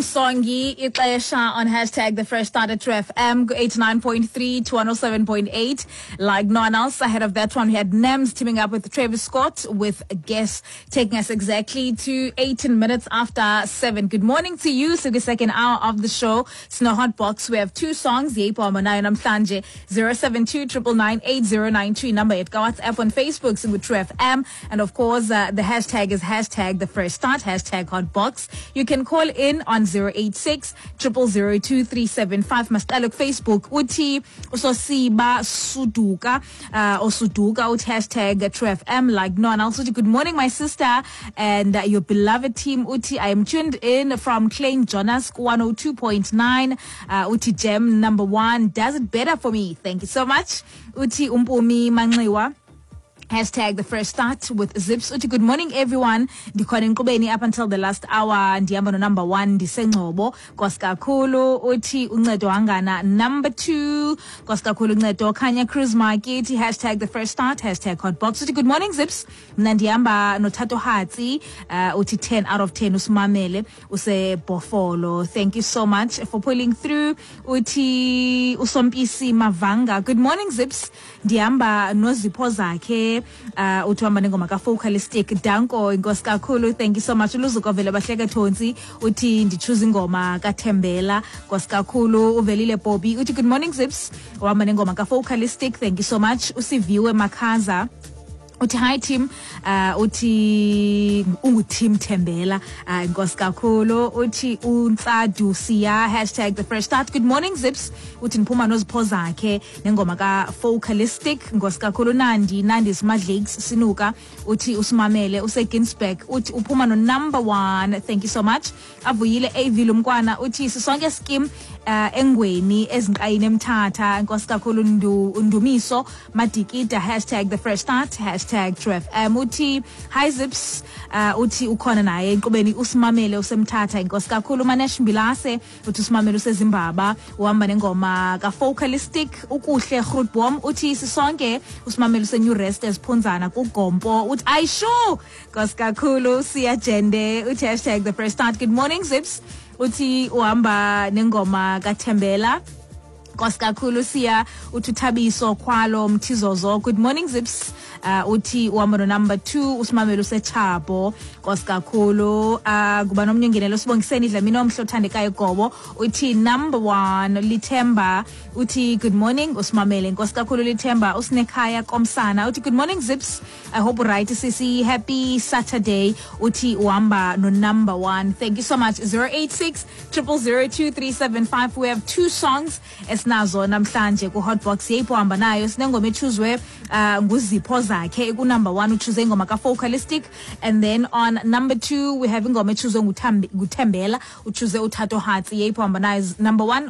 Songi ixesha on hashtag the fresh start at True FM 89.3 to 107.8 like no one else. Ahead of that one, we had Nems teaming up with Travis Scott with a guest taking us exactly to 18 minutes after 7. Good morning to you. So the second hour of the show, Snow Hot Box. We have two songs, Yepo Amanayo Namhlanje 072 999 number at WhatsApp on Facebook, so with True FM. And of course, the hashtag is hashtag the fresh start, hashtag hot box. You can call in on 086 0002375. Masiqale Facebook uthi usosiba suduka osuduka uthi hashtag True FM like no one else. Uthi good morning my sister and your beloved team. Uthi I am tuned in from Klein Jonas 102.9. Uthi gem number 1 does it better for me. Thank you so much. Uthi umpumi manxiwa hashtag the fresh start with Zips. Uthi good morning everyone. Ndikhona enkqubeni up until the last hour. Ndihamba no number 1 ndisengcobo. Nkosi kakhulu. Uthi uncedo hangana number 2. Nkosi kakhulu uncedo Khanya Cruise Market. Hashtag the fresh start. Hashtag hot box. Uthi good morning Zips. Mna ndihamba noThato Hatsi. Uthi 10 out of 10 usimamele usebhofolo. Thank you so much for pulling through. Uthi usompisi Mavanga. Good morning Zips. Ndihamba nozipho zakhe. Uthi uhamba nengoma kaFocalistic. Danko inkosi kakhulu. Thank you so much. Uluzuko vele bahleke Thonsi. Uthi ndichoose ingoma kaThembela. Nkosi kakhulu. Uvelile Bobby. Uthi good morning Zips. Uhamba nengoma kaFocalistic. Thank you so much. Usiviwe Makhaza. Uthi hi team. Uthi ungu team Thembela. Inkosi kakhulu. Uthi untsadu siya hashtag the fresh start. Good morning Zips. Uthi ndiphuma nozipho zakhe nengoma kaFocalistic. Inkosi kakhulu. Nandi Nandi Smadlakes Sinuka. Uthi usimamele useGinsberg. Uthi uphuma no number 1. Thank you so much. Avuyile AV Lumkwana. Uthi sisonke scheme engweni ezinqayini emthatha. Inkosi kakhulu. Ndumiso Madikida hashtag the fresh start hashtag True FM. Uthi hi Zips. Uthi ukhona naye enkqubeni usimamele usemthatha. Inkosi kakhulu. Manesh Mbilase uthi usimamele usezimbaba uhamba nengoma kaFocalistic. Ukuhle Grootboom uthi sisonke usimamele useNew Rest eziphunzana kuGompo. Uthi ayishu. Inkosi kakhulu. Siyajende uthi hashtag the fresh start. Good morning Zips. Uthi uhamba nengoma kaThembela. Nkosi kakhulu. Siya uthi Thabiso Khwalo Mthizozo. Good morning Zips. Uthi uhamba no number 2 usimamele useChabo. Nkosi kakhulu. Kuba nomnye ungenelo sibongiseni Dlamini omhle othandekayo Gobo. Uthi number 1 Lithemba. Uthi good morning usimamele. Nkosi kakhulu Lithemba. Usinekhaya Komsana. Uthi good morning Zips. I hope right sisi. Happy Saturday. Uthi uhamba no number 1. Thank you so much. 086 0002375. We have two songs esinazo namhlanje ku Hotbox. Yeyipho hamba nayo sinengoma echuzwe nguzipho zakhe ku number 1 uchoose ingoma kaFocalistic, and then on number 2 we have ingoma echuzwe nguThembela uchoose uThato Hatsi. Yeyipho hamba nayo number 1